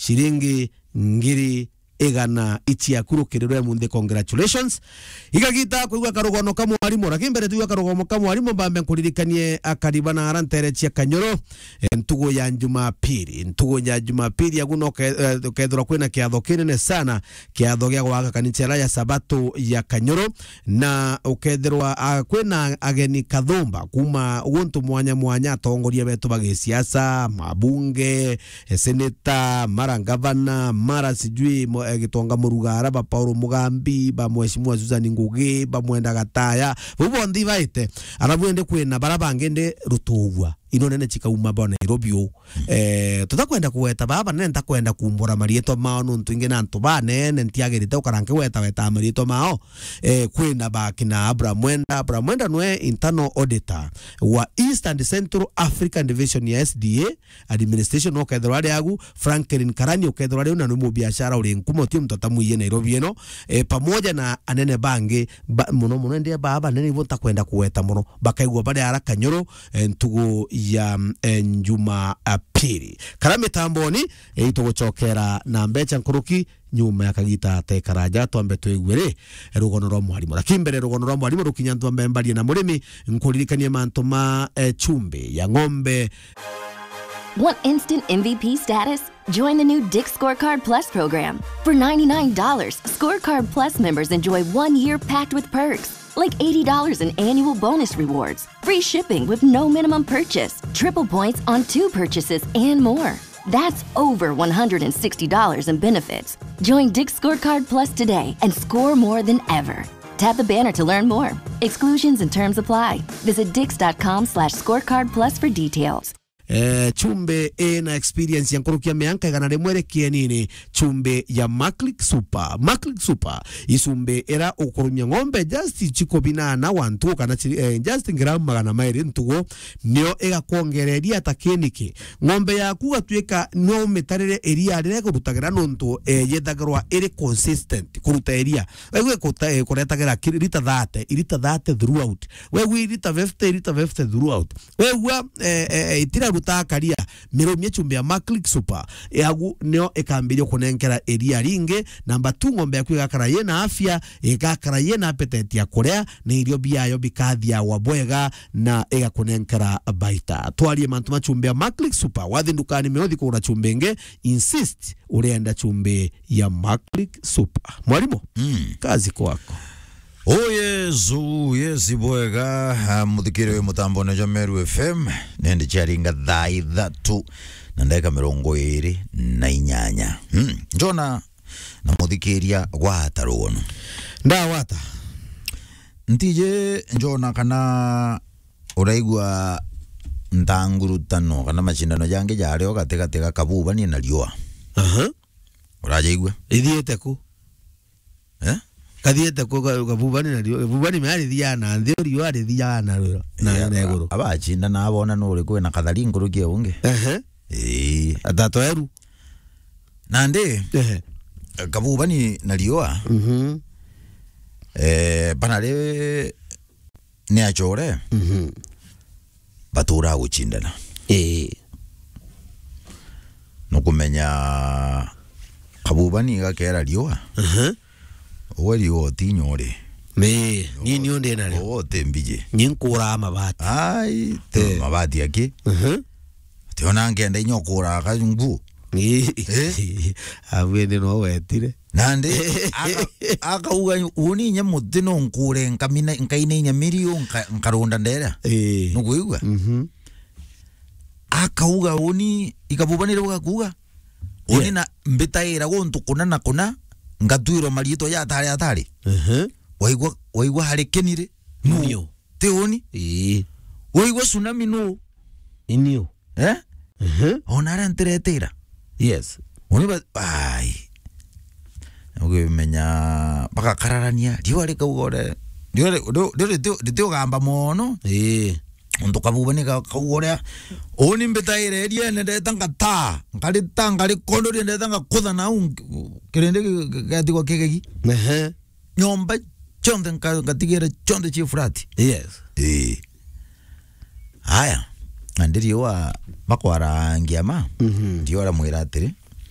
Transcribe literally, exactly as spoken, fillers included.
ciringi ngiri igana ici yaku rukiri rwa munthi. Congratulations. Igagita kwigua karugono ka mwarimu, lakini mbere tuigua karugono ka mwarimu, mbambe nkuririkanie akariba na ara ntere cia Kanyoro, eh, ntugu ya Jumapili. Ntugu ya Jumapili agu no ke-, eh, ukethirwa kwina kiatho kinene sana, kiatho gia gwaka kanisa ya Sabato ya Kanyoro, na ukethirwa, ah, kwina ageni kathumba kuma guntu mwanya mwanya, atongoria betu ba gisiasa, mabunge, eh, seneta, mara ngavana, mara sijui mo-, eh, Gitonga Murugara, ba Paul Mugambi, ba Mheshimiwa Susan Ngugi, ba Mwenda Gataya, bau bonthe ibaite. Arabu indi kwina bara bangi indi rutugwa, ino nene chikauma bo Nairobi u. Eh, tutakwenda kugweta baba, nene ntakwenda kumbura marietwa mao, nontu ingi na antu banene ntiagirite gukara nkigweta weta marietwa mao. Eh, kwina bakina Abraham Mwenda. Abraham Mwenda nwe internal auditor wa East and Central African Division ya S D A, administration, no kethirwa ari agu, Franklin Karani ukethirwa ari u, na ni mubiashara uri nkuma, uti muntu atamwiye Nairobi ino, eh, pamoja na anene bangi, ba-, muno muno ndi baa banene ibo ntakwenda kugweta muno, bakaigua bari ara Kanyoro, eh, ntugu ya, eh, Jumapili. Kara mitamboni, eh, itugucokera na mbecha nkuruki, nyuma ya kagita tekaraja, twambe twigue ri, rugono rwa mwarimu. Lakini mbere rugono rwa mwarimu rukinya, ntwambe mbarie na murimi, nkuririkanie mantu ma, eh, chumbi ya ng'ombe. Want instant M V P status? Join the new Dick Scorecard Plus program. For ninety-nine dollars, Scorecard Plus members enjoy one year packed with perks, like eighty dollars in annual bonus rewards, free shipping with no minimum purchase, triple points on two purchases, and more. That's over one hundred sixty dollars in benefits. Join Dick Scorecard Plus today and score more than ever. Tap the banner to learn more. Exclusions and terms apply. Visit dix dot com slash scorecard plus for details. Eh, chumbi ina experience ya nkuruki ya mianka igana rimwe ri kienini, chumbi ya Maclick Super. Maclick Super, i chumbi ira ukurumia ng'ombe just chiko binana wantu kana chiri, eh, just ngramu magana mairi ntugu, nio igakwongereria ta kiniki. Ng'ombe yaku gatwika no umitarire iria riria igurutagira nontu, eh, yethagirwa iri consistent kuruta iria. Wegwe kuta-, eh, kuretagira ki-, lita thirty, lita thirty throughout. Wegwe lita fifty, lita fifty throughout. Wegwa, eh, eh, eh, itira ruta karia, mirumie chumbi ya Maclick Super. Yagu nio ikambiria kunenkera iria ringi. Number two, ng'ombe yaku igakara yina afya, igakara yina appetite ya kuria, na irio biayo bikathiagwa bwega, na igakunenkera baita. Twarie mantu ma chumbi ya Maclick Super. Wathi ndukani meothi kugura chumbi ingi, insist urienda chumbi ya Maclick Super. Mwarimu, mm, kazi kwako. Oh, yes, oh, yes, bwega. Ah, muthikiri wi mutambone jwa Meru F M, nende ciaringa thaa ithatu na ndagika mirongo iri na inyanya. Hmm. Njona na muthikiria gwata rugono. Ndawata. Ntiji njona kana uraigua ntangurutano kana macindano jangi jario gatigati ga Kabubani na Riua. Aha. Urajaigua? Ithiite ku? Eh? Kathiite ku ka-, Kabubani na Riua? Kabubani me arithiaga na nthi, Riua arithiaga na rwiro, na, yeah, na iguru. Abacindana abona nuri kwina kathari nkuruki ya ungi. Ehe. Ii. Atato eru. Nandi, ehe, Kabubani na Riua, mhm, eh, banari ni achore, mhm, batura gucindana. Ii. Nukumenya Kabubani gakera Riua. Aha. Uwe Riua utinyore. Ni, ni, ni undi na ri. Uwe uti mbiji. Ni nkura mabati. Ai, te, eh, mabati aki. Aha. Tiona nkenda inya ukura ka nguo. Ii. Eh? Abwene no wetire. Nandi, aka-, akauga, "Uni inya muti no nkure nkamina, nkaina inya miriu nka-, nkarunda ndera." Ii. Nukwigua? Mhm. Akauga, "Uni, i Kabubani riu gakuga, uni, yeah, na mbitaira guntu kuna na kuna, ngatwirwa mariitwa ja atari atari." Mhm. Waigua, waigua hari kenire? Nu? Nio. Ti uni? Ii. Waigua tsunami nu? Inio. Eh? Mhm. Ona aria ntiretira. Yes. Uni ba-, ai. Ukimenya bagakararania, riua rikauga ore, riua ri-, ri-, ri-, riti-, ritiugamba mono. Ii. Untu Kabubani ga-, kauga uria. Uni mbitaire iriene ndeta ngata, nkarita, nkarikondoria ndeta ngakutha nau, kirindi gi-, gi-, gigatigwa kigegi. Ehe. Nyomba cionthe nka-, ngatigira cionthe cie flat. Yes. Ii. Aya, na ndi Riua bakwarangia ma, mhm, Riua aramwira atiri,